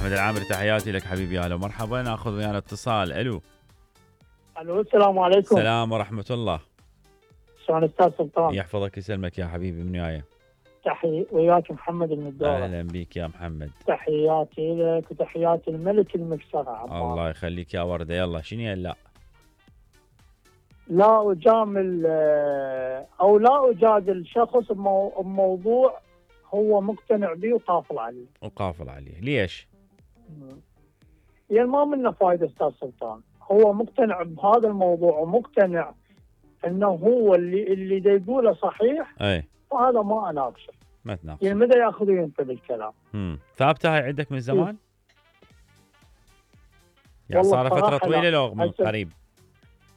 احمد العامري تحياتي لك حبيبي. اهلا ومرحبا. ناخذ ويانا اتصال. الو السلام عليكم. السلام ورحمه الله. شلون استاذ سلطان؟ يحفظك يسلمك يا حبيبي. من وياي؟ تحية وياك محمد المدورة. اهلا بك يا محمد. تحياتي لك وتحياتي الملك المكسرة عمار. الله يخليك يا ورده. يلا شنو لا؟ لا اجامل او لا اجادل شخص بموضوع هو مقتنع به وقافل عليه. ليش؟ يعني ما منه فايده استاذ سلطان. هو مقتنع بهذا الموضوع ومقتنع انه هو اللي دا يقوله صحيح. وهذا ما اناقشه. ما تناقشه. يعني متى ياخذون انت بالكلام؟ ثابته هاي عندك من زمان؟ يعني صار فتره طويله لو من قريب؟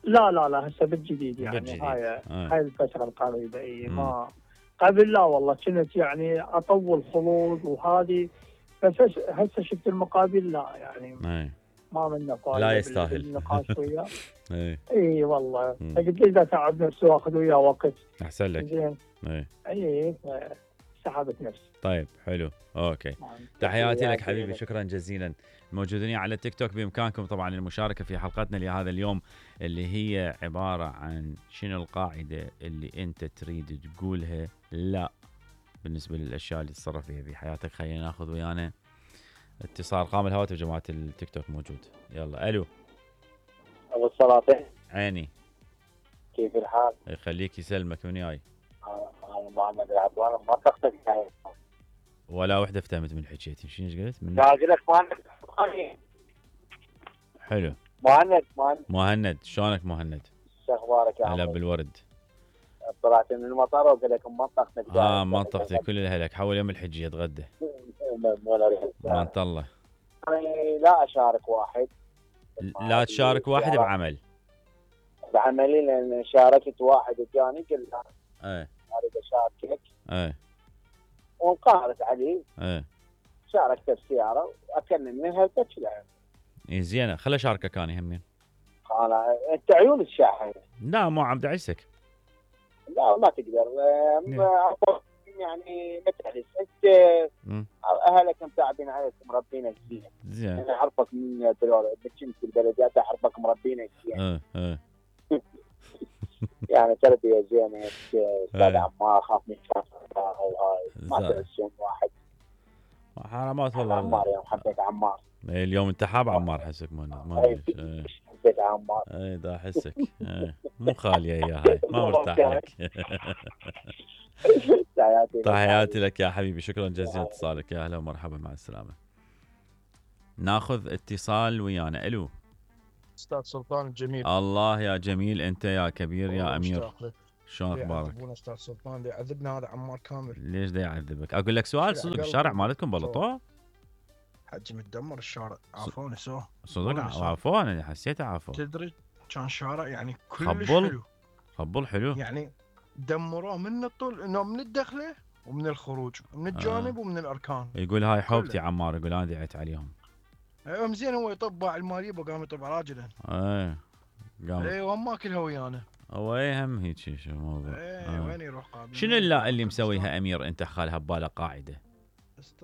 لا هسه بالجديد يعني هاي الفتره القريبه. اي ما قبل لا والله كنت يعني اطول خلود وهذه. بس هسه شفت المقابل لا يعني ما منه فايده. لا يستاهل النقاش وياه. اي والله قلت لي اذا تعب نفسي واخذ وياه وقت احسن لك. زين. اي سحبت نفسي. طيب حلو اوكي. تحياتي لك حبيبي. شكرا جزيلا. موجودين على التيك توك. بامكانكم طبعا المشاركه في حلقتنا لهذا اليوم اللي هي عباره عن شنو القاعده اللي انت تريد تقولها لا بالنسبه للاشياء اللي تتصرف فيها في حياتك. خلينا ناخذ ويانا اتصال. قام الهواتف جماعه التيك توك موجود. يلا الو. ابو السلاطين. عيني. كيف الحال؟ يخليك يسلمك. من جاي؟ انا محمد العدوان. ما تقصد ولا وحده فتهمت من حكيتي. شنو قلت؟ من قاعد لك مهند. حلو. مهند شلونك مهند؟ شو اخبارك يا هلا بالورد. طلعت من المطار وقلت لكم منطقتك. منطقتي كل الاهلك. حول يوم الحجيه اتغدى. ما انت الله. لا اشارك واحد. لا تشارك واحد بعملي لان شاركت واحد وجاني قلت له اريد اشاركك. وانقهرت علي. شاركت بسياره واكلم منها وتكلها. زينه. خلي اشاركك انا همين. انت عيون الشاحن. لا مو عم دعسك. لا ما تقدر. يعني متعلس انت. اهلك متعبين عليك مربينك زين. انا اعرفك من كنت في البلديات اعرفك مربينك زين. يعني تربيه زينه. استاذ عمار اخاف من وهاي ما تنسون واحد. حرامات والله. عمار يا حبيت عمار. اليوم انت حاب عمار حسك ما حبيت عمار. دا احسك. مو خاليه يا هاي. ما مرتاح لك. تحياتي لك يا حبيبي. شكرا جزيلا اتصالك. يا اهلا ومرحبا. مع السلامه. ناخذ اتصال ويانا. الو استاذ سلطان الجميل. الله يا جميل. انت يا كبير يا امير. شلون اخبارك؟ استاذ سلطان يعذبنا هذا عمار كامل. ليش دا يعذبك؟ اقول لك سؤال صدق. الشارع مالتكم بلطوه؟ حجي متدمر الشارع. عافوني صدق عافوني. حسيته عافو. تدري كان شارع يعني كلش حلو. خبل حلو يعني دمروه من الطول انه من الدخله ومن الخروج من الجانب ومن الاركان. يقول هاي حوبتي عمار. يقول انا دعيت عليهم. ايوه زين. هو يطبع الماليه وقام يطبع راجله. قام. ايوه ما كلها ويانا. هو هم هيك شو الموضوع. وين يروح قابل. شنو اللي مسويها امير انت خالها بباله قاعده؟